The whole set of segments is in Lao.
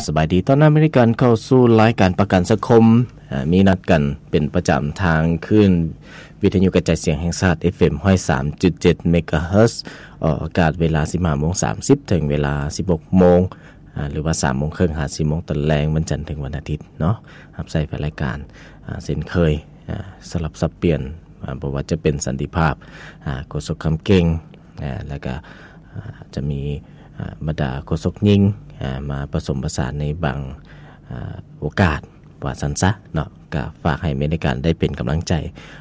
ສະບາຍດີ ຕ້ອນຮັບໃຫ້ກັນເຂົ້າສູ່ລາຍການປະກັນສັງຄົມ ອາ ມີນັດກັນເປັນປະຈຳທາງຄື້ນວິທະຍຸກະຈາຍສຽງແຫ່ງຊາດ ເອັຟເອັມ ຮ້ອຍສາມຈຸດເຈັດ ເມກາເຮີດ ອອກອາກາດເວລາສິບຫ້າໂມງສາມສິບ ເຖິງເວລາສິບຫົກໂມງ ອາ ຫຼືວ່າສາມໂມງເຄິ່ງຫາສີ່ໂມງຕອນແລງ ວັນຈັນເຖິງວັນອາທິດເນາະ. ຮັບໃຊ້ແຟນລາຍການ ອາ ເຊັ່ນເຄີຍ ອາ ສະຫຼັບສັບປ່ຽນ ອາ ບໍ່ວ່າຈະເປັນສັນຕິພາບ ອາ ໂຄສົກຄຳເກັ່ງ ອາ ແລ້ວກະ ອາ ຈະມີ ອາ ບັນດາໂຄສົກຍິງ ອາ ມາປະສົມປະສານໃນບາງ ອາ ໂອກາດ ວ່າຊັ້ນຊະເນາະ. ກະຝາກໃຫ້ແຟນລາຍການໄດ້ເປັນກຳລັງໃຈ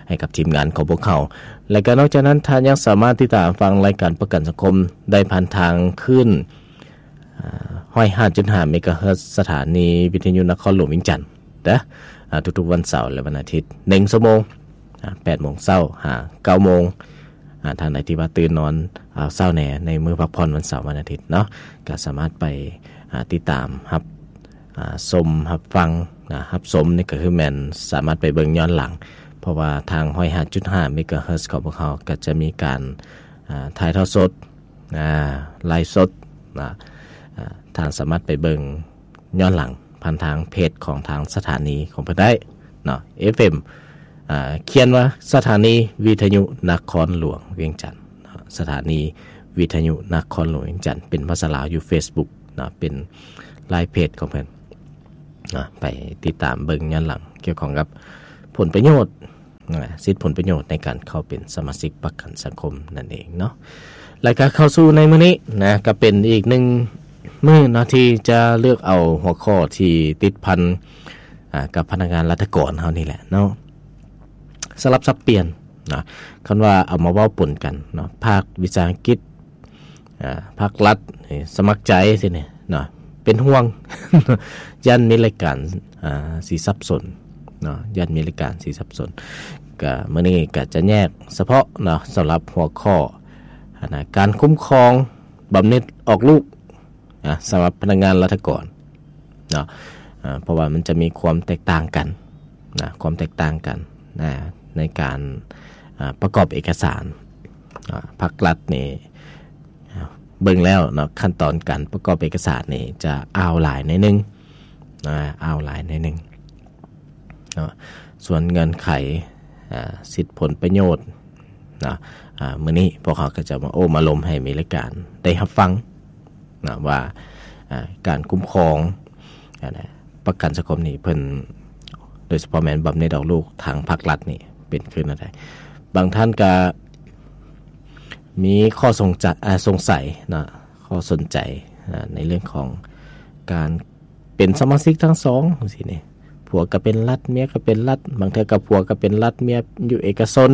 ໃຫ້ກັບທີມງານຂອງພວກເຮົາ ແລະກະນອກຈາກນັ້ນ ທ່ານຍັງສາມາດຕິດຕາມຟັງລາຍການປະກັນສັງຄົມໄດ້ຜ່ານທາງຄື້ນ ອາ ຮ້ອຍຫ້າຈຸດຫ້າ ເມກາເຮີດ ສະຖານີວິທະຍຸນະຄອນຫຼວງວຽງຈັນ ເດີ ອາ ທຸກໆວັນເສົາ ແລະ ວັນອາທິດ ໜຶ່ງຊົ່ວໂມງ ອາ ແປດໂມງເຊົ້າຫາເກົ້າໂມງ. ອາ ທ່ານໃດທີ່ວ່າຕື່ນນອນ ອາ ເຊົ້າແດ່ ໃນມື້ພັກຜ່ອນວັນເສົາ ວັນອາທິດເນາະ ກະສາມາດໄປ ອາ ຕິດຕາມຮັບ ອາ ຊົມ ຮັບຟັງ ນະ ຮັບຊົມນີ້ກະຄືແມ່ນສາມາດໄປເບິ່ງຍ້ອນຫຼັງ ເພາະວ່າທາງຮ້ອຍຫ້າຈຸດຫ້າ ເມກາເຮີດ ຂອງພວກເຮົາກະຈະມີການ ອາ ຖ່າຍທອດສົດ ອາ ໄລຟ໌ສົດນະ ອາ ທ່ານສາມາດໄປເບິ່ງຍ້ອນຫຼັງຜ່ານທາງເພຈຂອງທາງສະຖານີຂອງເພິ່ນໄດ້ເນາະ ເອັຟເອັມ ອາ ຂຽນວ່າສະຖານີວິທະຍຸນະຄອນຫຼວງວຽງຈັນເນາະ ສະຖານີວິທະຍຸນະຄອນຫຼວງວຽງຈັນ ເປັນພາສາລາວຢູ່ເຟສບຸກເນາະ ເປັນລາຍເພຈຂອງເພິ່ນເນາະ ໄປຕິດຕາມເບິ່ງຍ້ອນຫຼັງກ່ຽວຂ້ອງກັບຜົນປະໂຫຍດ ນະ ສິດຜົນປະໂຫຍດໃນການເຂົ້າເປັນສະມາຊິກປະກັນສັງຄົມນັ້ນເອງເນາະ. ແລ້ວກະເຂົ້າສູ່ໃນມື້ນີ້ນະ ກະເປັນອີກໜຶ່ງມື້ເນາະ ທີ່ຈະເລືອກເອົາຫົວຂໍ້ທີ່ຕິດພັນ ອາ ກັບພະນັກງານລັດຖະກອນເຮົານີ້ແຫຼະເນາະ ສະຫຼັບສັບປ່ຽນນະ. ຄັນວ່າເອົາມາເວົ້າປົນກັນເນາະ ພາກວິຊາອັງກິດ ອາ ພາກລັດ ເອີ ສະໝັກໃຈຊີ້ນີ້ເນາະ ເປັນຫ່ວງ ຢ້ານມີລາຍການ ອາ ຊິສັບສົນເນາະ ຢ້ານມີລາຍການຊິສັບສົນ. ກະມື້ນີ້ກະຈະແຍກສະເພາະເນາະ ສຳລັບຫົວຂໍ້ ອັນນະ ການຄຸ້ມຄອງບຳເໜັດອອກລູກ ນະ ສຳລັບພະນັກງານລັດຖະກອນເນາະ ເພາະວ່າມັນຈະມີຄວາມແຕກຕ່າງກັນນະ ຄວາມແຕກຕ່າງກັນນະ ໃນການ ອາ ປະກອບເອກະສານນະ. ພາກລັດນີ້ ອາ ເບິ່ງແລ້ວເນາະ ຂັ້ນຕອນການປະກອບເອກະສານນີ້ຈະອ່າວຫຼາຍໜ້ອຍໜຶ່ງນະ ອ່າວຫຼາຍໜ້ອຍໜຶ່ງ ເນາະ. ສ່ວນເງື່ອນໄຂ ອາ ສິດຜົນປະໂຫຍດເນາະ ອາ ມື້ນີ້ພວກເຮົາກໍຈະມາໂອ້ມາລົມໃຫ້ມີລາຍການໄດ້ຮັບຟັງເນາະ ວ່າ ອາ ການຄຸ້ມຄອງ ອາ ປະກັນສັງຄົມນີ້ເພິ່ນ ໂດຍສະເພາະແມ່ນບຳເໜັດອອກລູກທາງພາກລັດນີ້ເປັນຄືແນວໃດ. ບາງທ່ານກໍມີຂໍ້ສົງຈະ ອາ ສົງໄສເນາະ ຂໍ້ສົນໃຈ ອາ ໃນເລື່ອງຂອງການ ເປັນສະມາຊິກທັງສອງຈັ່ງຊີ້ນີ້ ຜົວກໍເປັນລັດ ເມຍກໍເປັນລັດ ບາງເທື່ອກໍຜົວກໍເປັນລັດ ເມຍຢູ່ເອກະຊົນ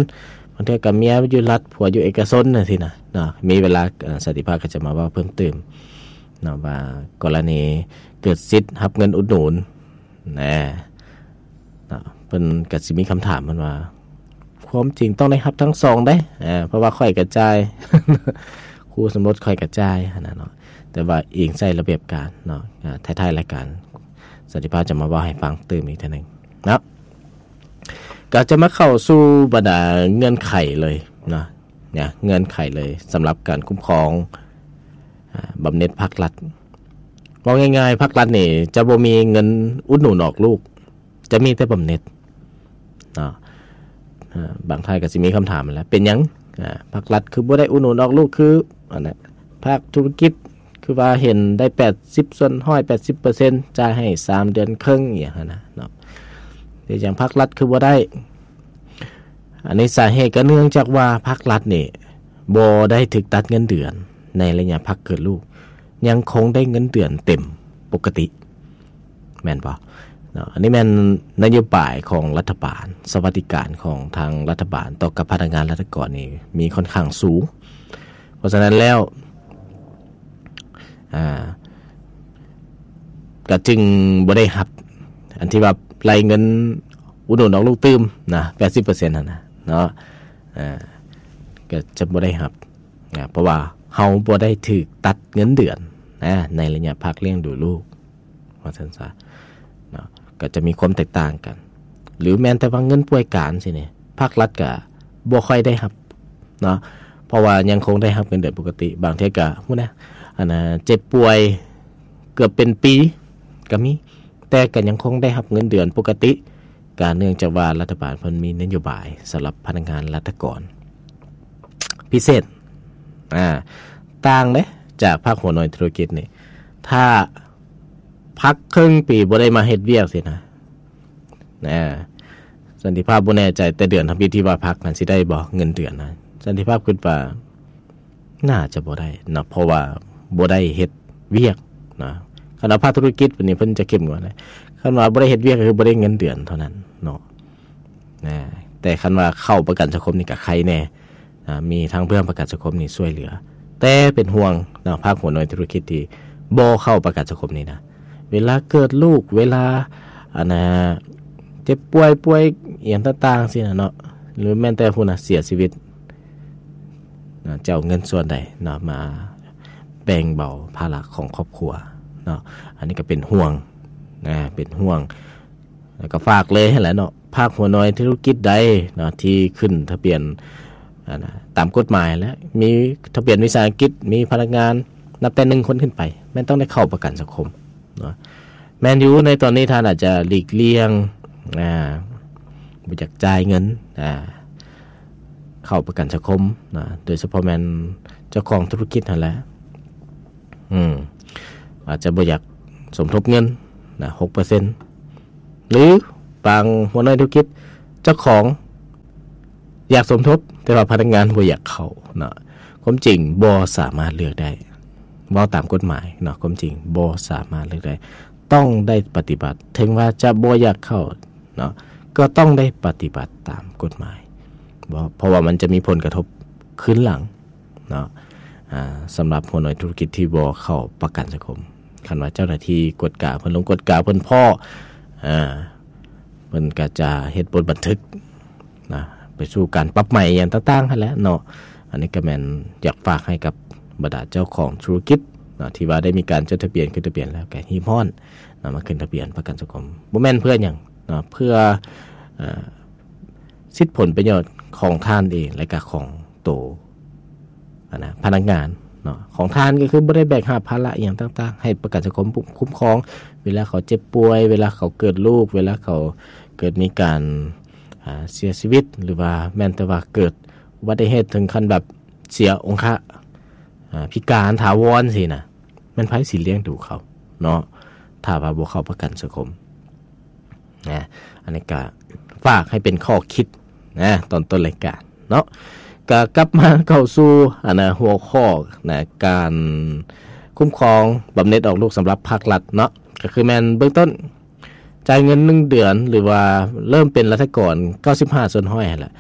ບາງເທື່ອກໍເມຍຢູ່ລັດ ຜົວຢູ່ເອກະຊົນຈັ່ງຊີ້ນະເນາະ. ມີເວລາ ອາ ສັນຕິພາບກໍຈະມາເວົ້າເພີ່ມຕື່ມເນາະ ວ່າກໍລະນີເກີດສິດຮັບເງິນອຸດໜູນນະ ເນາະ ເພິ່ນກໍຊິມີຄຳຖາມເພິ່ນວ່າ ຄວາມຈິງຕ້ອງໄດ້ຮັບທັງສອງເດ້ ເພາະວ່າຂ້ອຍກະຈ່າຍ ຄູ່ສົມລົດຂ້ອຍກະຈ່າຍຫັ້ນນະເນາະ ແຕ່ວ່າອີງໃສ່ລະບຽບການເນາະ. ທ້າຍໆລາຍການ ສັນຕິພາບຈະມາເວົ້າໃຫ້ຟັງຕື່ມອີກເທື່ອໜຶ່ງເນາະ ກໍຈະມາເຂົ້າສູ່ບັນດາເງື່ອນໄຂເລີຍເນາະ ເງື່ອນໄຂເລີຍ ສຳລັບການຄຸ້ມຄອງ ອາ ບຳເໜັດພາກລັດ. ເວົ້າງ່າຍໆ ພາກລັດນີ້ຈະບໍ່ມີເງິນອຸດໜູນອອກລູກ ຈະມີແຕ່ບຳເໜັດເນາະ. ອາ ບາງທ່ານກໍຊິມີຄຳຖາມຫັ້ນແຫຼະ ເປັນຫຍັງ ອາ ພາກລັດຄືບໍ່ໄດ້ອຸດໜູນອອກລູກ ຄືອັນນັ້ນ ພາກທຸລະກິດຄືວ່າເຫັນໄດ້ແປດສິບສ່ວນຮ້ອຍ ແປດສິບເປີເຊັນ ຈ່າຍໃຫ້ສາມເດືອນເຄິ່ງ ອີ່ຫຍັງຫັ້ນນະເນາະ ເປັນຫຍັງພາກລັດຄືບໍ່ໄດ້? ອັນນີ້ສາເຫດກໍເນື່ອງຈາກວ່າພາກລັດນີ້ບໍ່ໄດ້ຖືກຕັດເງິນເດືອນໃນໄລຍະພັກເກີດລູກ ຍັງຄົງໄດ້ເງິນເດືອນເຕັມປົກກະຕິ ແມ່ນບໍ່ເນາະ? ອັນນີ້ແມ່ນນະໂຍບາຍຂອງລັດຖະບານ ສະຫວັດດີການຂອງທາງລັດຖະບານຕໍ່ກັບພະນັກງານລັດຖະກອນນີ້ມີຄ່ອນຂ້າງສູງ. ເພາະສະນັ້ນແລ້ວ ອາ ກະຈຶ່ງບໍ່ໄດ້ຮັບ ອັນທີ່ວ່າໄລ່ເງິນອຸດໜູນອອກລູກຕື່ມນະ ແປດສິບເປີເຊັນຫັ້ນນະເນາະ ອາ ກະຈະບໍ່ໄດ້ຮັບນະ ເພາະວ່າເຮົາບໍ່ໄດ້ຖືກຕັດເງິນເດືອນນະ ໃນໄລຍະພັກລ້ຽງດູລູກ ວ່າຊັ້ນຊະເນາະ ກໍຈະມີຄວາມແຕກຕ່າງກັນ. ຫຼືແມ່ນແຕ່ວ່າເງິນປ່ວຍການຊີ້ນີ້ ພາກລັດກໍບໍ່ຄ່ອຍໄດ້ຮັບເນາະ ເພາະວ່າຍັງຄົງໄດ້ຮັບເງິນເດືອນປົກກະຕິ. ບາງເທື່ອກໍ ຫູ້ນະ ອັນນ່າ ເຈັບປ່ວຍເກືອບເປັນປີ ກ ກໍມີ ແຕ່ກໍຍັງຄົງໄດ້ຮັບເງິນເດືອນປົກກະຕິ ກໍເນື່ອງຈາກວ່າລັດຖະບານເພິ່ນມີນະໂຍບາຍສຳລັບພະນັກງານລັດຖະກອນພິເສດ ອ່າ ຕ່າງເດ້ຈາກພາກຫົວໜ່ວຍທຸລະກິດນີ້ ຖ້າພັກເຄິ່ງປີບໍ່ໄດ້ມາເຮັດວຽກຊີ້ນະ ນະ ສັນຕິພາບບໍ່ແນ່ໃຈ ແຕ່ເດືອນທຳອິດທີ່ວ່າພັກນັ້ນຊິໄດ້ບໍ່ເງິນເດືອນນະ ສັນຕິພາບຄິດວ່າໜ້າຈະບໍ່ໄດ້ເນາະ ເພາະວ່າບໍ່ໄດ້ເຮັດວຽກນະ ຄັນວ່າພາກທຸລະກິດນີ້ເພິ່ນຈະເຂັ້ມງວດເລີຍ ຄັນວ່າບໍ່ໄດ້ເຮັດວຽກກໍຄືບໍ່ໄດ້ເງິນເດືອນເທົ່ານັ້ນເນາະ ນະ ແຕ່ຄັນວ່າເຂົ້າປະກັນສັງຄົມນີ້ກໍໄຄແນ່ ອ່າ ມີທາງເບື້ອງປະກັນສັງຄົມນີ້ຊ່ວຍເຫຼືອ ແຕ່ເປັນຫ່ວງເນາະ ພາກຫົວໜ່ວຍທຸລະກິດທີ່ບໍ່ເຂົ້າປະກັນສັງຄົມນີ້ນະ ເວລາເກີດລູກ ເວລາ ອັນນ່າ ເຈັບປ່ວຍ ປ່ວຍອີ່ຫຍັງຕ່າງໆ ຊີ້ນະເນາະ ຫຼືແມ່ນແຕ່ພຸ້ນນະ ເສຍຊີວິດນະ ຈະເອົາເງິນສ່ວນໃດເນາະ ມາແບ່ງເບົາພາລະຂອງຄອບຄົວເນາະ ອັນນີ້ກໍເປັນຫ່ວງນະ ເປັນຫ່ວງ ແລ້ວກໍຝາກເລີຍຫັ້ນແຫຼະເນາະ ພາກຫົວໜ່ວຍທຸລະກິດໃດເນາະ ທີ່ຂຶ້ນທະບຽນ ອັນນ່າ ຕາມກົດໝາຍ ແລະ ມີທະບຽນວິສາຫະກິດ ມີພະນັກງານນັບແຕ່ໜຶ່ງຄົນຂຶ້ນໄປ ແມ່ນຕ້ອງໄດ້ເຂົ້າປະກັນສັງຄົມເນາະ ແມ່ນຢູ່ ໃນຕອນນີ້ທ່ານອາດຈະຫຼີກລ່ຽງ ອ່າ ບໍ່ຢາກຈ່າຍເງິນ ອ່າ ເຂົ້າປະກັນສັງຄົມນະ ໂດຍສະເພາະແມ່ນເຈົ້າຂອງທຸລະກິດຫັ້ນແຫຼະ ອືມ ອາດຈະບໍ່ຢາກສົມທົບເງິນນະ ຫົກເປີເຊັນ ຫຼືບາງຫົວໜ່ວຍທຸລະກິດ ເຈົ້າຂອງຢາກສົມທົບ ແຕ່ວ່າພະນັກງານບໍ່ຢາກເຂົ້າເນາະ ຄວາມຈິງບໍ່ສາມາດເລືອກໄດ້ ເວົ້າຕາມກົດໝາຍເນາະ ຄວາມຈິງບໍ່ສາມາດເລືອກໄດ້ ຕ້ອງໄດ້ປະຕິບັດ ເຖິງວ່າຈະບໍ່ຢາກເຂົ້າເນາະ ກໍຕ້ອງໄດ້ປະຕິບັດຕາມກົດໝາຍ ເພາະວ່າມັນຈະມີຜົນກະທົບຄືນຫຼັງ ເນາະ ອ່າ ສຳລັບຫົວໜ່ວຍທຸລະກິດທີ່ບໍ່ເຂົ້າປະກັນສັງຄົມ ຄັນວ່າເຈົ້າໜ້າທີ່ກວດກາ ເພິ່ນລົງກວດກາ ເພິ່ນພໍ້ ອ່າ ເພິ່ນກໍຈະເຮັດບົດບັນທຶກນະ ໄປສູ່ການປັບໃໝຫຍັງຕ່າງໆຫັ້ນແຫຼະເນາະ ອັນນີ້ກໍແມ່ນຢາກຝາກໃຫ້ກັບບັນດາເຈົ້າຂອງທຸລະກິດເນາະ ທີ່ວ່າໄດ້ມີການຈົດທະບຽນ ຂຶ້ນທະບຽນແລ້ວ ກໍຮີບຮ້ອນນະ ມາຂຶ້ນທະບຽນປະກັນສັງຄົມ ບໍ່ແມ່ນເພື່ອຫຍັງເນາະ ເພື່ອ ເອີ ສິດຜົນປະໂຫຍດຂອງທ່ານເອງ ແລະກະຂອງໂຕ ອັນນະ ພະນັກງານເນາະ ຂອງທ່ານກໍຄືບໍ່ໄດ້ແບກຫາບພາລະອີ່ຫຍັງຕ່າງໆ ໃຫ້ປະກັນສັງຄົມຄຸ້ມຄອງ ເວລາເຂົາເຈັບປ່ວຍ ເວລາເຂົາເກີດລູກ ເວລາເຂົາເກີດມີການ ອ່າ ເສຍຊີວິດ ຫຼືວ່າແມ່ນແຕ່ວ່າເກີດອຸບັດຕິເຫດເຖິງຂັ້ນແບບເສຍອົງຄະ ອ່າ ພິການຖາວອນຊີ້ນະ ແມ່ນໃຜຊິລ້ຽງດູເຂົາເນາະ ຖ້າວ່າບໍ່ເຂົ້າປະກັນສັງຄົມ ນະ ອັນນີ້ກະຝາກໃຫ້ເປັນຂໍ້ຄິດນະ ຕອນຕົ້ນລາຍການເນາະ ກະກັບມາເຂົ້າສູ່ ອັນນະ ຫົວຂໍ້ນະ ການຄຸ້ມຄອງບຳເນັດອອກລູກສຳລັບພາກລັດເນາະ ກະຄືແມ່ນເບື້ອງຕົ້ນ ຈ່າຍເງິນໜຶ່ງເດືອນ ຫຼືວ່າເລີ່ມເປັນລັດຖະກອນເກົ້າສິບຫ້າສ່ວນຮ້ອຍຫັ້ນແຫຼະ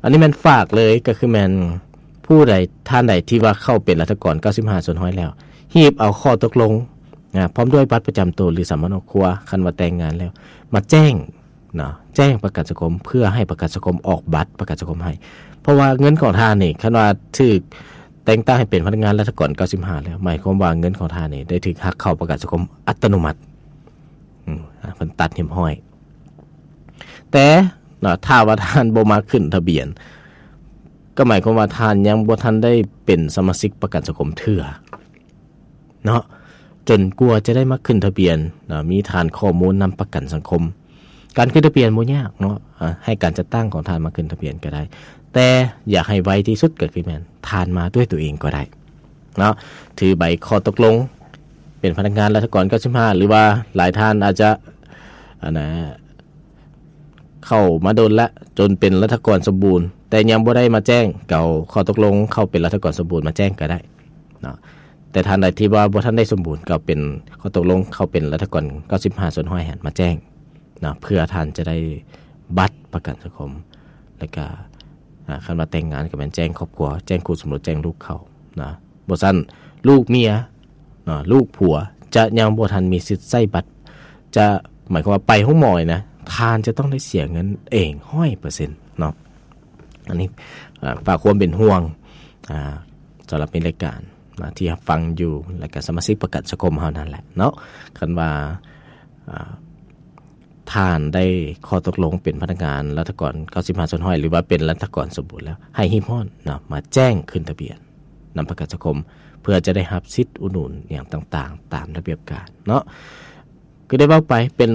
ອັນນີ້ແມ່ນຝາກເລີຍ ກໍຄືແມ່ນຜູ້ໃດ ທ່ານໃດທີ່ວ່າເຂົ້າເປັນລັດຖະກອນເກົ້າສິບຫ້າສ່ວນຮ້ອຍແລ້ວ ຮີບເອົາຂໍ້ຕົກລົງນະ ພ້ອມດ້ວຍບັດປະຈຳໂຕ ຫຼືສຳເນົາຄົວ ຄັນວ່າແຕ່ງງານແລ້ວ ມາແຈ້ງເນາະ ແຈ້ງປະກັນສັງຄົມ ເພື່ອໃຫ້ປະກັນສັງຄົມອອກບັດປະກັນສັງຄົມໃຫ້ ເພາະວ່າເງິນຂອງທ່ານນີ້ ຄັນວ່າຖືກແຕ່ງຕັ້ງໃຫ້ເປັນພະນັກງານລັດຖະກອນເກົ້າສິບຫ້າແລ້ວ ໝາຍຄວາມວ່າເງິນຂອງທ່ານນີ້ໄດ້ຖືກຫັກເຂົ້າປະກັນສັງຄົມອັດຕະໂນມັດ ອືມ ເພິ່ນຕັດຮຽບຮ້ອຍ ແຕ່ເນາະ ຖ້າວ່າທ່ານບໍ່ມາຂຶ້ນທະບຽນ ກໍໝາຍຄວາມວ່າທ່ານຍັງບໍ່ທັນໄດ້ເປັນສະມາຊິກປະກັນສັງຄົມເທື່ອເນາະ ຈົນກວ່າຈະໄດ້ມາຂຶ້ນທະບຽນເນາະ ມີຖານຂໍ້ມູນນຳປະກັນສັງຄົມ ການຂຶ້ນທະບຽນບໍ່ຍາກເນາະ ອາ ໃຫ້ການຈັດຕັ້ງຂອງທ່ານມາຂຶ້ນທະບຽນກໍໄດ້ ແຕ່ຢາກໃຫ້ໄວທີ່ສຸດກໍຄືແມ່ນທ່ານມາດ້ວຍຕົວເອງກໍໄດ້ ເນາະ ຖືໃບຂໍ້ຕົກລົງເປັນພະນັກງານລັດຖະກອນເກົ້າສິບຫ້າ ຫຼືວ່າຫຼາຍທ່ານອາດຈະ ອັນນະ ເຂົ້າມາດົນແລ້ວ ຈົນເປັນລັດຖະກອນສົມບູນ ແຕ່ຍັງບໍ່ໄດ້ມາແຈ້ງ ກໍເອົາຂໍ້ຕົກລົງເຂົ້າເປັນລັດຖະກອນສົມບູນມາແຈ້ງກໍໄດ້ເນາະ ແຕ່ທ່ານໃດທີ່ວ່າບໍ່ທັນໄດ້ສົມບູນ ກໍເອົາເປັນຂໍ້ຕົກລົງເຂົ້າເປັນລັດຖະກອນເກົ້າສິບຫ້າສ່ວນຮ້ອຍຫັ້ນມາແຈ້ງ ເນາະ ເພື່ອທ່ານຈະໄດ້ບັດປະກັນສັງຄົມ ແລ້ວກະ ອາ ຄັນວ່າແຕ່ງງານກໍແມ່ນແຈ້ງຄອບຄົວ ແຈ້ງຄູ່ສົມລົດ ແຈ້ງລູກເຂົານະ ບໍ່ຊັ້ນລູກເມຍເນາະ ລູກຜົວຈະຍັງບໍ່ທັນມີສິດໃຊ້ບັດ ຈະໝາຍຄວາມວ່າໄປໂຮງໝໍນີ້ນະ ທ່ານຈະຕ້ອງໄດ້ເສຍເງິນເອງຮ້ອຍເປີເຊັນເນາະ ອັນນີ້ ອາ ຝາກຄວາມເປັນຫ່ວງ ອາ ສຳລັບໃນລາຍການນະ ທີ່ຮັບຟັງຢູ່ ແລ້ວກະສະມາຊິກປະກັນສັງຄົມເຮົານັ້ນແຫຼະເນາະ ຄັນວ່າ ອາ ທ່ານໄດ້ຂໍ້ຕົກລົງເປັນພະນັກງານລັດຖະກອນເກົ້າສິບຫ້າສ່ວນຮ້ອຍ ຫຼືວ່າເປັນລັດຖະກອນສົມບູນແລ້ວ ໃຫ້ຮີບຮ້ອນເນາະ ມາແຈ້ງຂຶ້ນທະບຽນນຳປະກັນສັງຄົມ ເພື່ອຈະໄດ້ຮັບສິດອຸດໜູນຫຍັງຕ່າງໆ ຕາມລະບຽບການເນາະ ຄືໄດ້ເວົ້າໄປ ເປັນ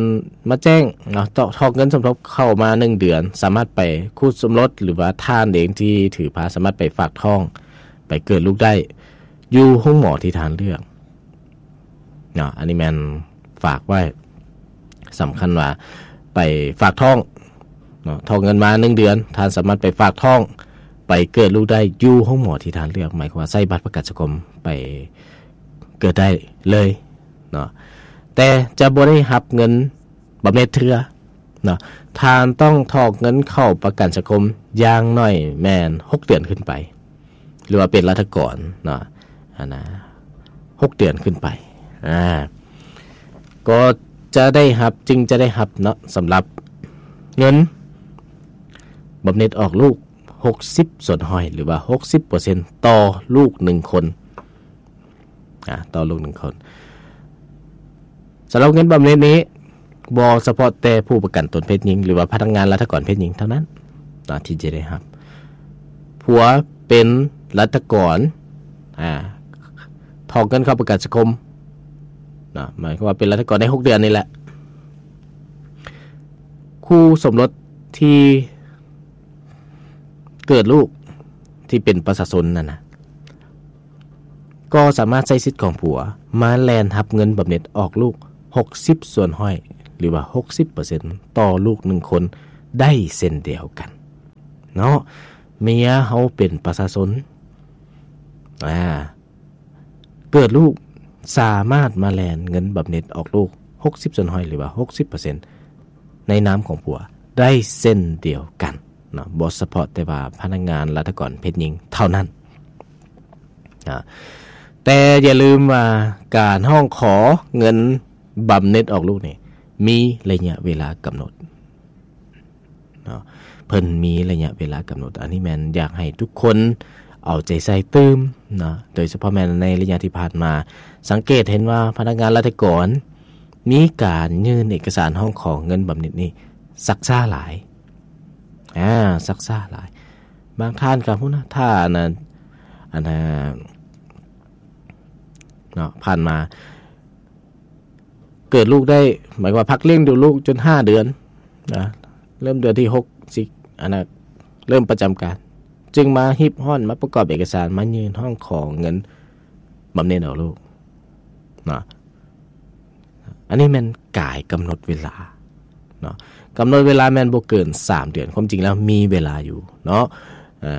ມາແຈ້ງເນາະ ຖອກເງິນສົມທົບເຂົ້າມາໜຶ່ງເດືອນ ສາມາດໄປຄູ່ສົມລົດ ຫຼືວ່າທ່ານເອງທີ່ຖືພາ ສາມາດໄປຝາກທ້ອງ ໄປເກີດລູກໄດ້ຢູ່ໂຮງໝໍທີ່ທ່ານເລືອກເນາະ. ອັນນີ້ແມ່ນຝາກໄວ້ ສຳຄັນວ່າໄປຝາກທ້ອງເນາະ ຖອກເງິນມາໜຶ່ງເດືອນ ທ່ານສາມາດໄປຝາກທ້ອງ ໄປເກີດລູກໄດ້ຢູ່ໂຮງໝໍທີ່ທ່ານເລືອກ ໝາຍຄວາມວ່າໃຊ້ບັດປະກັນສັງຄົມໄປເກີດໄດ້ເລີຍເນາະ ແຕ່ຈະບໍ່ໄດ້ຮັບເງິນບຳເນັດເທື່ອເນາະ. ທ່ານຕ້ອງຖອກເງິນເຂົ້າປະກັນສັງຄົມຢ່າງໜ້ອຍແມ່ນຫົກເດືອນຂຶ້ນໄປ ຫຼືວ່າເປັນລັດຖະກອນເນາະ ອັນນະ ຫົກເດືອນຂຶ້ນໄປ ອາ ກໍຈະໄດ້ຮັບ ຈຶ່ງຈະໄດ້ຮັບເນາະ ສຳລັບເງິນບຳເນັດອອກລູກຫົກສິບສ່ວນຮ້ອຍ ຫຼືວ່າຫົກສິບເປີເຊັນຕໍ່ລູກໜຶ່ງຄົນ ອາ ຕໍ່ລູກໜຶ່ງຄົນ. ສຳລັບເງິນບຳເນັດນີ້ ບໍ່ສະເພາະແຕ່ຜູ້ປະກັນຕົນເພດຍິງ ຫຼືວ່າພະນັກງານລັດຖະກອນເພດຍິງເທົ່ານັ້ນເນາະ ທີ່ຈະໄດ້ຮັບ. ຜົວເປັນລັດຖະກອນ ອາ ຖອກເງິນເຂົ້າປະກັນສັງຄົມເນາະ ໝາຍຄວາມວ່າເປັນລັດຖະກອນໄດ້ຫົກເດືອນນີ້ແຫຼະ. ຄູ່ສົມລົດທີ່ເກີດລູກ ທີ່ເປັນປະຊາຊົນນັ້ນນະ ກໍສາມາດໃຊ້ສິດຂອງຜົວມາແລ່ນຮັບເງິນບຳເນັດອອກລູກຫົກສິບສ່ວນຮ້ອຍ ຫຼືວ່າຫົກສິບເປີເຊັນຕໍ່ລູກໜຶ່ງຄົນໄດ້ເຊັ່ນດຽວກັນເນາະ. ເມຍເຮົາເປັນປະຊາຊົນ ອາ ເກີດລູກ ສາມາດມາແລ່ນເງິນບຳເນັດອອກລູກຫົກສິບສ່ວນຮ້ອຍ ຫຼືວ່າຫົກສິບເປີເຊັນໃນນາມຂອງຜົວໄດ້ເຊັ່ນດຽວກັນເນາະ ບໍ່ສະເພາະແຕ່ວ່າພະນັກງານລັດຖະກອນເພດຍິງເທົ່ານັ້ນ. ອາ ແຕ່ຢ່າລືມວ່າການຮ້ອງຂໍເງິນບຳເນັດອອກລູກນີ້ ມີໄລຍະເວລາກຳນົດເນາະ ເພິ່ນມີໄລຍະເວລາກຳນົດ. ອັນນີ້ແມ່ນຢາກໃຫ້ທຸກຄົນເອົາໃຈໃສ່ຕື່ມເນາະ ໂດຍສະເພາະແມ່ນໃນໄລຍະທີ່ຜ່ານມາ ສັງເກດເຫັນວ່າພະນັກງານລັດຖະກອນມີການຍື່ນເອກະສານຮ້ອງຂໍເງິນບຳເນັດນີ້ຊັກຊ້າຫຼາຍ ອາ ຊັກຊ້າຫຼາຍ. ບາງທ່ານກໍພຸ້ນນະ ຖ້າອັນນັ້ນ ອັນນັ້ນເນາະ ຜ່ານມາເກີດລູກໄດ້ ໝາຍຄວາມວ່າພັກລ້ຽງດູລູກຈົນຫ້າເດືອນນະ ເລີ່ມເດືອນທີຫົກ ຊິ ອັນນັ້ນ ເລີ່ມປະຈຳການ ຈຶ່ງມາຮີບຮ້ອນ ມາປະກອບເອກະສານ ມາຍື່ນຮ້ອງຂໍເງິນບຳເນັດອອກລູກເນາະ. ອັນນີ້ແມ່ນກາຍກຳນົດເວລາເນາະ ກຳນົດເວລາແມ່ນບໍ່ເກີນສາມເດືອນ ຄວາມຈິງແລ້ວມີເວລາຢູ່ເນາະ. ເອີ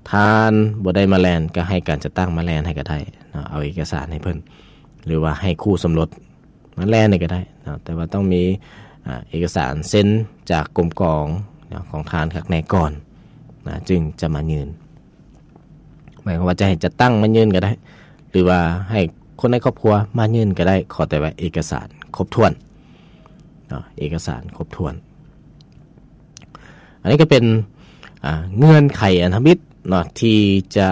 ທ່ານບໍ່ໄດ້ມາແລ່ນ ກໍໃຫ້ການຈັດຕັ້ງມາແລ່ນໃຫ້ກໍໄດ້ເນາະ ເອົາເອກະສານໃຫ້ເພິ່ນ ຫຼືວ່າໃຫ້ຄູ່ສົມລົດມາແລ່ນໃຫ້ກໍໄດ້ເນາະ ແຕ່ວ່າຕ້ອງມີ ອາ ເອກະສານເຊັນຈາກກົມກອງເນາະ ຂອງທ່ານຄັກແນ່ກ່ອນນະ ຈຶ່ງຈະມາຍື່ນ. ໝາຍຄວາມວ່າຈະໃຫ້ຈັດຕັ້ງມາຍື່ນກໍໄດ້ ຫຼືວ່າໃຫ້ຄົນໃນຄອບຄົວມາຍື່ນກໍໄດ້ ຂໍແຕ່ວ່າເອກະສານຄົບຖ້ວນເນາະ ເອກະສານຄົບຖ້ວນ. ອັນນີ້ກໍເປັນ ອາ ເງື່ອນໄຂອັນທຳອິດເນາະ ທີ່ຈະ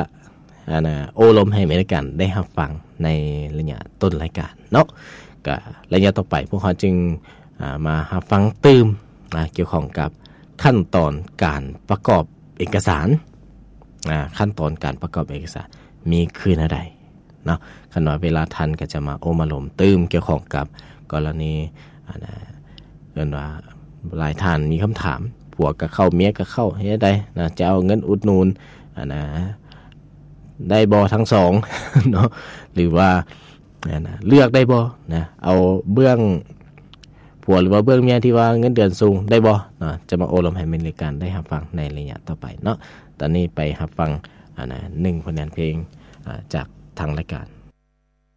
ອັນນະ ໂອ້ລົມໃຫ້ແມ່ນການໄດ້ຮັບຟັງໃນໄລຍະຕົ້ນລາຍການເນາະ. ກໍໄລຍະຕໍ່ໄປພວກເຮົາຈຶ່ງ ອາ ມາຮັບຟັງຕື່ມ ອາ ກ່ຽວຂ້ອງກັບຂັ້ນຕອນການປະກອບເອກະສານ ອາ ຂັ້ນຕອນການປະກອບເອກະສານມີຄືແນວໃດເນາະ. ຄັນວ່າເວລາທັນກໍຈະມາໂອ້ມາລົມຕື່ມກ່ຽວຂ້ອງກັບກໍລະນີ ອັນນະ ເອີ້ນວ່າຫຼາຍທ່ານມີຄຳຖາມ ຜົວກໍເຂົ້າ ເມຍກໍເຂົ້າ ເຮັດໃດນະ ຈະເອົາເງິນອຸດໜູນ ອັນນະ ໄດ້ບໍ່ທັງສອງເນາະ ຫຼືວ່າ ນັ້ນນະ ເລືອກໄດ້ບໍ່ນະ ເອົາເບື້ອງຜົວ ຫຼືວ່າເບື້ອງເມຍທີ່ວ່າເງິນເດືອນສູງໄດ້ບໍ່ເນາະ. ຈະມາໂອ້ລົມໃຫ້ແມ່ນການໄດ້ຮັບຟັງໃນໄລຍະຕໍ່ໄປເນາະ. ຕອນນີ້ໄປຮັບຟັງ ອັນນະ ໜຶ່ງຜົນງານເພງ ອາ ຈາກທາງລາຍການ.